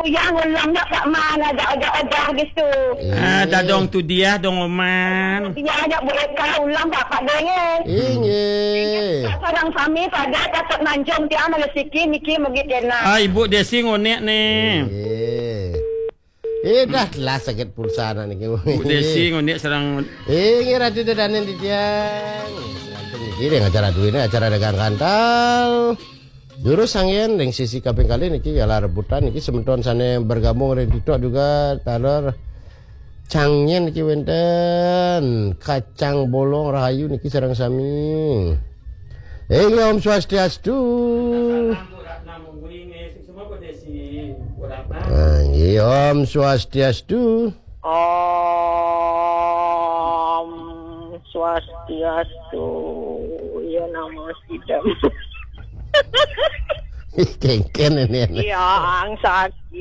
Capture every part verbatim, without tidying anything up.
Yang ulang dak Pak Man, ajak-ajak obah gitu. Ah, dah dong tu dia dong Oman. Dia ajak buat kau ulang dak Pak Deye. Inggih. Sarang sami pada dapat manjung tiang rezeki niki mugi kena. Ah, Ibu Desi ngonek ni. Inggih. Eh, dah telah sakit pulsa anak niki. Ibu Desi ngonek sarang. Inggih, Ratu Dedanen di tiang. Serantun niki dengan acara duit ni, acara dagang kantal. Jurus angin ring sisi kaping kalih niki ialah rebutan niki semeton sane bergabung ring TikTok juga taler cangin niki wenten kacang bolong rahayu niki sareng sami. Inggih, Om Swastiastu. Ah, inggih, Om Swastiastu. Om Swastiastu. Ya nama sidam. Kengken ini. Yang saking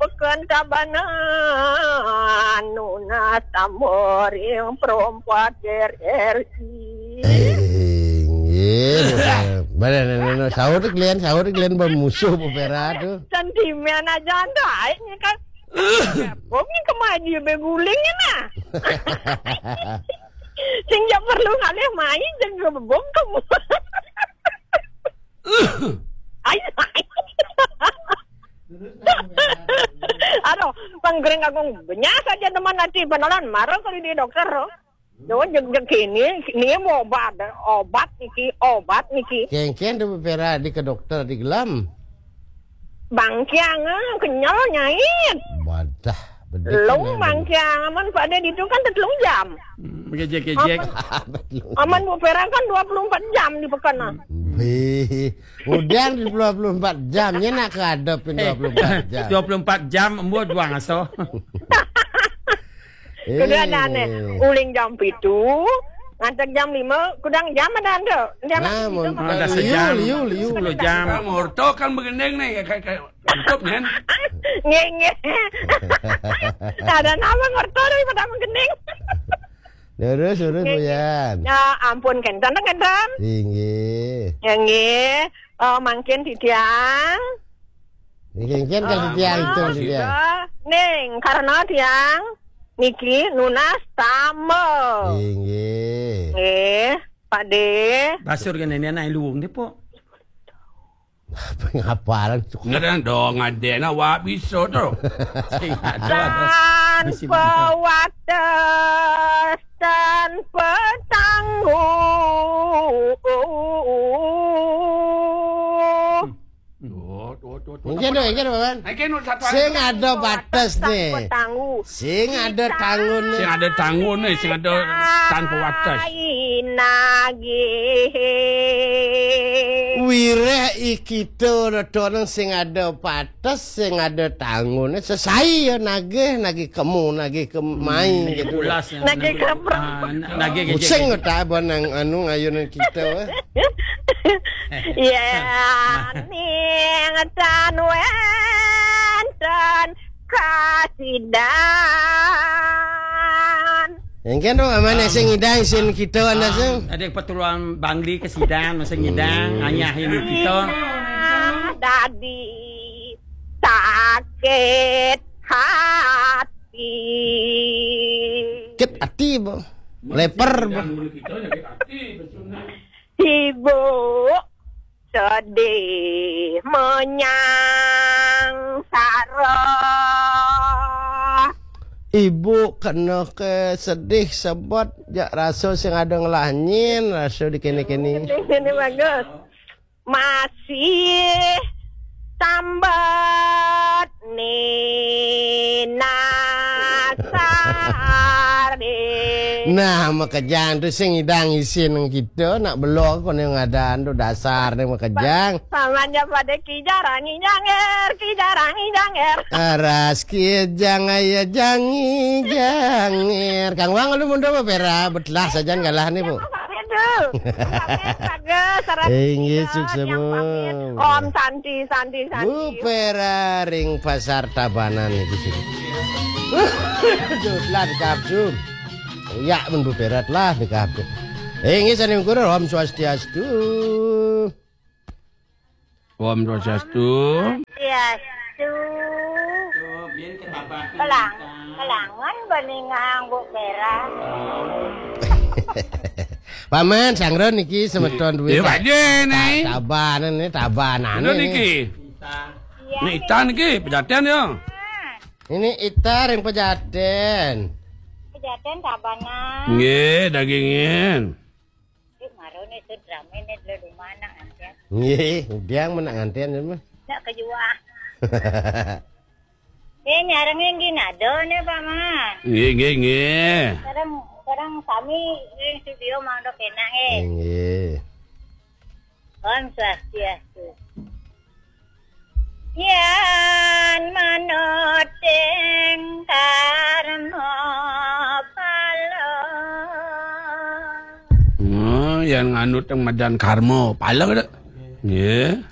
pekan Tabanan nunas tamboring perompat R R I. Inggih. Mana, mana, mana, sahur tu kalian, sahur tu kalian bermusuh beberapa tu. Sentimen aja anda, ini kan. Bom ni kemaji beguling ni nah. Sing jak perlu ngalih main, sing bom kamu. Ai, ai. Aduh, panggereng agung benyah saja teman nanti penolon marah kali di dokter. Yo, jeg, jeg kini, kini mau obat, obat niki, obat niki. Kengken tu beperak di ke dokter di gelam. Bangkiang, ah, kenyal nyait. Wadah, bedek. Lung bangkiang, aman pada ditu kan tetelung jam. Hmm, kejek-kejek. Aman, aman Bu Pera kan dua puluh empat jam di pekan, ah. Bih, udah dua puluh empat jam, nya nak ke adep dua puluh empat jam. Dua puluh empat jam, embuat buang aso. Kuda dah ni. Uling jam pitu, ngantek jam lima, kudang jam ada anda. Dia nak Nah, mun Ah, dah liu, sejam. Liu, liu. Sepuluh jam. Ngorto kan begending ni, kayak, kayak tutup kan? Nge, nge. Tak ada nama ngorto daripada menggending. Lurus, lurus, Nge, nge. Buyan. Ya, ampun, kenten, kenten. Inggih. Ya, nge. Oh, mangkin titiang. Niki kan Ah, tiang itu ah, dia. Ning, karena tiang niki nunas tambel. Inggih. Nggih, Pak De. Basur kene ni anak luung dia, Pok. Apa ngapalan tu? Ngadang dong, ada nak wak bisa tu. Sing ada, ada. Bisi Tanpa mantap. Wates, tanpa tanggung. Tuh, tuh, tuh, tuh. Engke, tuh, engke, Paman. Engke, nu satu Sing anu. Ada batas ni. Tanpa tanggung. Sing ada tanggung ni. Sing ada tanggung ni, sing ada tanpa batas. Nagih. Wireh i kita tonang sing ada batas, sing ada tanggung ni. Sesai ya nagih, nagih kemu, nagih kemai Hmm, gitu. Pulas ya, Nagih nagih, kemu. Ah, na-, nagih Pusing kejek. Kota abang nang anu ngayunan kita. Eh. Ya, ning tan wenten kasidan. Engken dong, aman. Am, sing ngidang isin kita anda am, sing. Ada keperluan Bangli ke sidan, masa ngidang, hmm, anyah ini kita. Dadi sakit hati. Sakit hati, Bang. Leper, Bang. Ibu sedih menyang sarah. Ibu kena ke sedih sebab jak rasa sing ada ngelah nyin, rasa di kene-kene. Ini, ini bagus. Masih tambat ni nasare. Nah, makejang tu sing idang isin kita nak belok kau ni ngadan tu dasar ni makejang. Samanya pada kijarang inyanger, kijarang inyanger. Aras kijang aya jangi janger. Kang Wang lu mundur apa pera? Betlah sajan galah ni, Bu. Itu. Pamit, bagus, sarap Inggih, kita sukses, yang pamit. Bu. Om Santi, Santi, Santi. Bu Pera ring Pasar Tabanan iki sih. Aduh, telah dikapsum. Ya, men Bu Pera telah dikapsum. Inggih, sani ukur, Om Swastiastu. Om Swastiastu. Asu. Kelang, kelangan bani nganggo merah. Paman, sangron niki semeton duit. Ya, Pak Jen, nih. Tabanan nih, tabanan. Bener niki. Iya, Ini nih. Ita niki, pejaten ya. Ini Ita ring pejaten. Pejaten tabanan. Nggih, dagingin. Ih, marone sudrame ne dulu mana antian. Nggih, udiang menak ngantian ya mah. Nak kejuah. Eh, nyarengin gini ada nih, Pak Mas. Nggih, nggih, nggih. Sekarang, sekarang kami ring studio mangdo kena, eh. Nggih. Om Swastiastu. Yan manut ing karma pala. Oh, yan nganut ing madan karma pala, Dak? Nggih.